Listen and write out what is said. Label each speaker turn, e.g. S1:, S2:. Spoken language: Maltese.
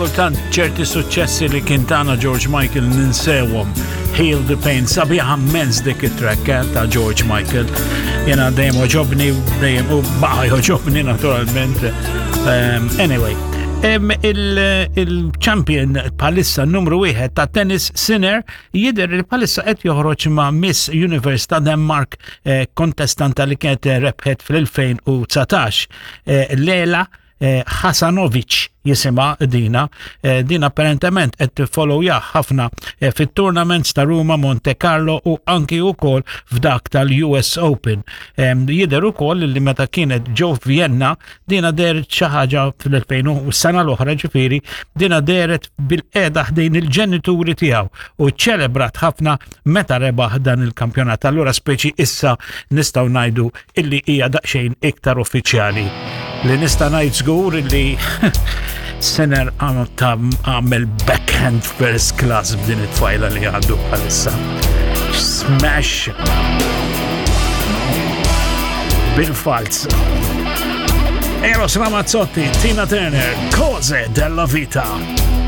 S1: Kultant ċerti suċċessi li kien tana George Michael ninsewhom. Heal the Pain, sabiħa mens dik it-track eh, ta' George Michael. Jena dejjem oġobni, dejjem u baqa joġobni naturalment. Um, anyway, il-champion palissa numru wieħed ta' tennis Sinner jidher li palissa qed joħroġ ma' Miss Universe ta' Denmark eh, kontestanta li kienet rebħet fl-2019. Eh, Lela eh, Hasanovic jisimha dina, eh, din apparentement qed tiffollowja ħafna eh, fit-tournaments ta' Ruma, Monte Carlo u anki wkoll f'dak tal-US Open. Jidher ukoll li meta kienet ġo Vienna dina dehret xi ħaġa fl-2000 u s-sena l-oħra ġifieri dina dehret bil-qiegħda ħdejn il-ġenituri tiegħu u ċelebrat ħafna meta rebaħ dan il-kampjonat. Allura speċi issa nistgħu ngħidu illi hija daqsxejn iktar uffiċjali. Li nista' ngħid żgur illi Sinner għamel backhand first class b'din it-tfajla li għandu bħalissa. Smash bil-falz. Eros Ramazzotti, Tina Turner, Cose della Vita.